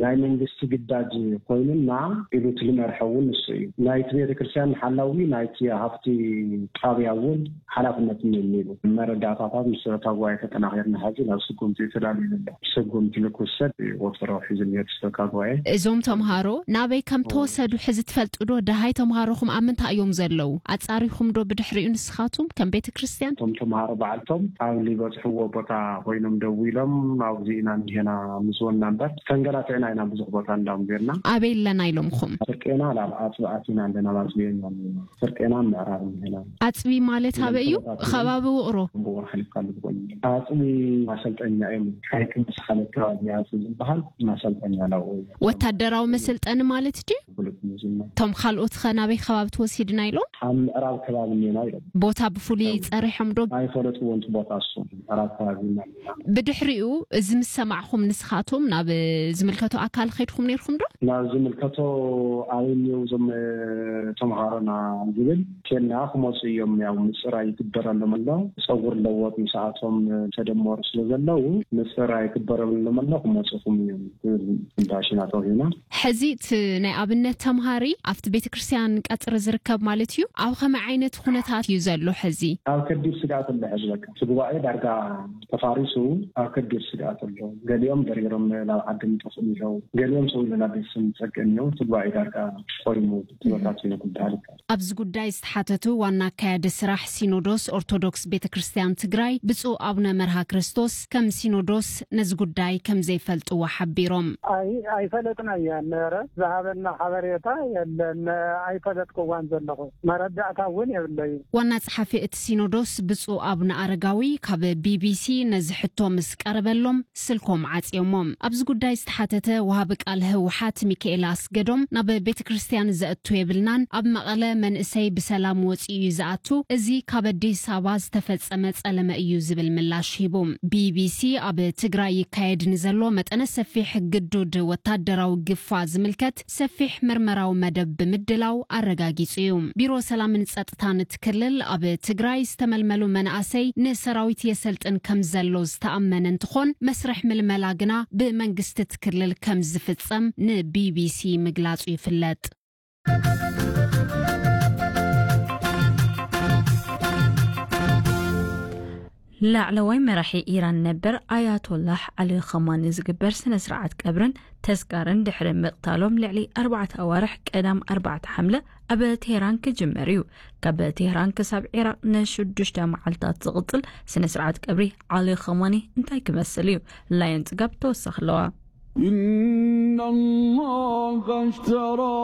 ናይ መንግስቲ ግዳጅ ኮይኑና ኢሉ እቲ ዝመርሐ እውን ንሱ እዩ። ናይቲ ቤተክርስትያን ሓላዊ ናይቲ ሃፍቲ ጣብያ እውን ሓላፍነት እኒሄኒ ኢሉ። መረዳእታታት ምስ ሰበካ ጉባኤ ተጠናኺርና ሕዚ ናብ ስጉምቲ ተዳልዩ ዘሎ። ስጉምቲ ንክውሰድ እዩ ወጥሮ ሒዙ እኒሄ እቲ ሰበካ ጉባኤ። እዞም ተምሃሮ ናበይ ከም ተወሰዱ ሕዚ ትፈልጡ ዶ? ደሃይ ተምሃሮኹም ኣብ ምንታይ እዮም ዘለዉ? ኣጻሪኹም ዶ ብድሕሪኡ ንስኻቱም ከም ቤተክርስትያን? እቶም ተምሃሮ ባዕልቶም ኣብ ዝበጽሕዎ ቦታ ኮይኖም ደዊሎም ኣብዚ ኢና እንዲሄና ምስ ወና እምበር ተንገላቲዕና ኢና ብዙሕ ቦታ እንዳምዜርና። ኣበይ ኣለና ኢሎምኹም? ፍርቄና ላብ ኣጽቢ ኣቲና ኣለና፣ ኣብ ኣጽቢ ኢና ኣለና። ፍርቄና ምዕራብ እንዲሄና። ኣጽቢ ማለት ኣበይ እዩ? ከባቢ ውቕሮ። ብውቕሮ ሓሊፍካ ኣለዎ። ኣጽቢ ማሰልጠኛ እዮም። ሓይቂ ምስ ሓለፍካ ኣብዚ ኣጽቢ ዝበሃል ማሰልጠኛ ናብኡ እዩ። ወታደራዊ መስልጠኒ ማለት ድዩ? ብሉጽ ምዝና። እቶም ካልኦት ኸ ናበይ ከባቢ ተወሲድና ኢሎም? ኣብ ምዕራብ ከባቢ እኒና ኢሎም። ቦታ ብፍሉይ ኣብ ጸሪሖም ዶ? ኣይፈለጥዎን እቲ ቦታ እሱ። ምዕራብ ከባቢ ኢና። ብድሕሪኡ እዚ ምስ ሰማዕኹም ንስኻቶም ናብ ዝምልከቶ ኣካል ኸይድኩም ነይርኩም ዶ? ናብ ዝምልከቶ ኣበይ እኒው እዞም፣ እ፣ ተምሃሮና ዝብል ኬና ክመፁ እዮም። ያው ምፅራይ ይግበረሎም ኣሎ። ፀጉር ለወጥ ምስኣቶም፣ እ፣ ተደመሩ ስለ ዘለዉ ምፅራይ ይግበረሎም ኣሎ። ክመፁኹም እዮም ዝብል እንዳሽና ተዋሂና። ሕዚ እቲ ናይ ኣብነት ተምሃሪ ኣብቲ ቤተክርስትያን ቀጽሪ ዝርከብ ማለት እዩ። ኣብ ከመይ ዓይነት ኩነታት እዩ ዘሎ ሕዚ? ኣብ ከቢድ ስግኣት ኣሎ ሕዚ። በቃ እቲ ጉባኤ ዳርጋ ተፋሪሱ ኣብ ከቢድ ስግኣት ኣሎ። ገሊኦም ደሪሮም ናብ ዓዲ ምጠፍኡ እዮም። ገሊኦም ሰው ኢሉ ናብ ቤተሰብ ዝጸግእ እዮም። እቲ ጉባኤ ዳርጋ ቆይሙ ተበታቲኑ ክበሃል ይከኣል። ኣብዚ ጉዳይ ዝተሓተቱ ዋና ኣካያዲ ስራሕ ሲኖዶስ ኦርቶዶክስ ቤተክርስትያን ትግራይ ብፁዕ ኣቡነ መርሃ ክርስቶስ ከም ሲኖዶስ ነዚ ጉዳይ ከም ዘይፈልጥዎ ሓቢሮም። ኣይ-፣ ኣይፈለጥናያን። ኧረ ዝሃበና ሓበሬታ የለን። ኣይፈለጥክዋን ዘለኹ። መረዳእታ እውን የብለይን። ዋና ጸሓፊ እቲ ሲኖዶስ ብፁዕ ኣቡነ ኣረጋዊ ካብ ቢቢሲ ነዚ ሕቶ ምስ ቀረበሎም ስልኮም ዓጽዮሞም። ኣብዚ ጉዳይ ዝተሓተተ ወሃቢ ቃል ህወሓት ሚካኤል ኣስገዶም ናብ ቤተ ክርስቲያን ዘእቱ የብልናን፣ ኣብ መቐለ መንእሰይ ብሰላም ወጺኡ እዩ ዝኣቱ፣ እዚ ካብ ኣዲስ ኣበባ ዝተፈጸመ ጸለመ እዩ ዝብል ምላሽ ሂቡ። ቢቢሲ ኣብ ትግራይ ይካየድ ንዘሎ መጠነ ሰፊሕ ግዱድ ወታደራዊ ግፋ ዝምልከት ሰፊሕ ምርመራዊ መደብ ብምድላው ኣረጋጊጹ እዩ። ቢሮ ሰላምን ጸጥታን እቲ ክልል ኣብ ትግራይ ዝተመልመሉ መናእሰይ ንሰራዊት የሰልጥን ከም ዘሎ ዝተኣመነ እንትኾን፣ መስርሕ ምልመላ ግና ብመንግስቲ እቲ ክልል ከም ዝፍጸም ንቢቢሲ ምግላጹ ይፍለጥ። ላዕለዋይ መራሒ ኢራን ነበር ኣያቶላህ ዓሊ ኸማኒ ዝግበር ስነ ስርዓት ቀብርን ተስካርን ድሕሪ ምቕታሎም ልዕሊ ኣርባዕተ ኣዋርሕ ቀዳም ኣርባዕተ ሓምለ ኣብ ቴህራን ክጅመር እዩ። ካብ ቴህራን ክሳብ ዒራቕ ንሽዱሽተ መዓልታት ዝቕጽል ስነ ስርዓት ቀብሪ ዓሊ ኸማኒ እንታይ ክመስል እዩ? ላየን ጽጋብ ተወሳኺ ኣለዋ። إن الله اشترى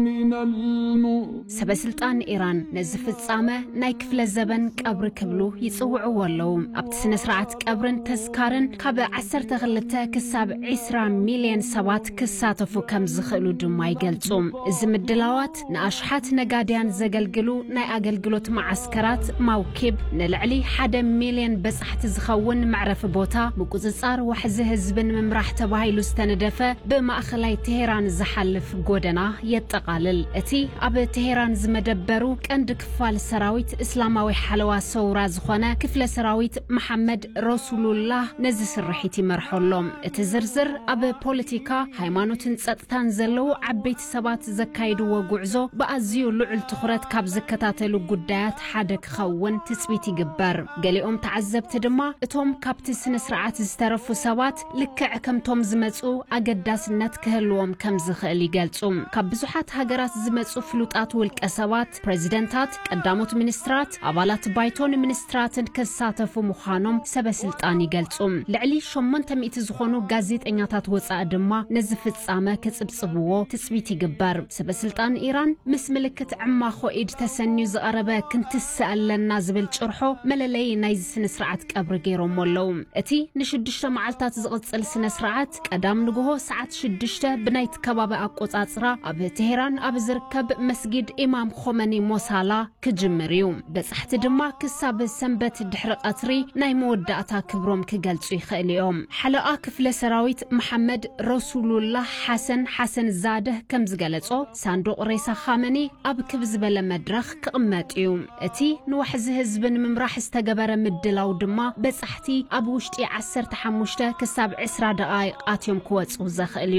من الم- ሰበ ስልጣን ኢራን ነዚ ፍጻመ ናይ ክፍለ ዘበን ቀብሪ ክብሉ ይጽውዕዎ ኣለዉ። ኣብቲ ስነ ስርዓት ቀብርን ተስካርን ካብ ዓሰርተ ክልተ ክሳብ ዒስራ ሚልዮን ሰባት ክሳተፉ ከም ዝኽእሉ ድማ ይገልጹ። እዚ ምድላዋት ንኣሽሓት ነጋድያን ዘገልግሉ ናይ ኣገልግሎት መዓስከራት፣ ማውኪብ፣ ንልዕሊ ሓደ ሚልዮን በጻሕቲ ዝኸውን መዕረፊ ቦታ፣ ምቁጽጻር ዋሕዚ ህዝብን ምምራሕ ተባሂሉ ዝተነደፈ ብማእኸላይ ቴሄራን ዝሓልፍ ጎደና የጠቓልል። እቲ ኣብ ቴሄራን ዝመደበሩ ቀንዲ ክፋል ሰራዊት እስላማዊ ሓለዋ ሰውራ ዝኾነ ክፍለ ሰራዊት መሓመድ ረሱሉላህ ነዚ ስርሒት ይመርሖ ኣሎ። እቲ ዝርዝር ኣብ ፖለቲካ፣ ሃይማኖትን ጸጥታን ዘለዉ ዓበይቲ ሰባት ዘካይድዎ ጉዕዞ ብኣዝዩ ልዑል ትኹረት ካብ ዝከታተሉ ጉዳያት ሓደ ክኸውን ትጽቢት ይግበር። ገሊኦም ተዓዘብቲ ድማ እቶም ካብቲ ስነ ስርዓት ዝተረፉ ሰባት ልክዕ ከምቶም ዝመጹ ኣገዳስነት ክህልዎም ከም ዝኽእል ይገልጹ። ካብ ብዙሓት ሃገራት ዝመጹ ፍሉጣት ውልቀ ሰባት፣ ፕሬዚደንታት፣ ቀዳሞት ሚኒስትራት፣ ኣባላት ባይቶን ሚኒስትራትን ክሳተፉ ምዃኖም ሰበ ስልጣን ይገልጹ። ልዕሊ ሸሞንተ ሚእቲ ዝኾኑ ጋዜጠኛታት ወጻኢ ድማ ነዚ ፍጻመ ክጽብጽብዎ ትጽቢት ይግበር። ሰበ ስልጣን ኢራን ምስ ምልክት ዕማኾ ኢድ ተሰንዩ ዝቐረበ ክንትስእ ኣለና ዝብል ጭርሖ መለለዪ ናይዚ ስነ ስርዓት ቀብሪ ገይሮሞ ኣለዉ። እቲ ንሽዱሽተ መዓልታት ዝቕጽል ስነ ስርዓት ቀዳም ንግሆ ሰዓት ሽዱሽተ ብናይቲ ከባቢ ኣቆጻጽራ ኣብ ቴሄራን ኣብ ዝርከብ መስጊድ ኢማም ኾመኒ ሞሳላ ክጅምር እዩ። በጻሕቲ ድማ ክሳብ ሰንበት ድሕሪ ቀትሪ ናይ መወዳእታ ክብሮም ክገልጹ ይኽእሉ እዮም። ሓለቓ ክፍለ ሰራዊት መሓመድ ረሱሉላህ ሓሰን ሓሰን ዛደህ ከም ዝገለጾ፣ ሳንዱቕ ሬሳ ኻመኒ ኣብ ክብ ዝበለ መድረኽ ክቕመጥ እዩ። እቲ ንዋሕዚ ህዝቢ ንምምራሕ ዝተገበረ ምድላው ድማ በጻሕቲ ኣብ ውሽጢ ዓሰርተ ሓሙሽተ ክሳብ ዕስራ ደቓይቕ ኣትዮም ክወጹ ዘኽእል እዩ።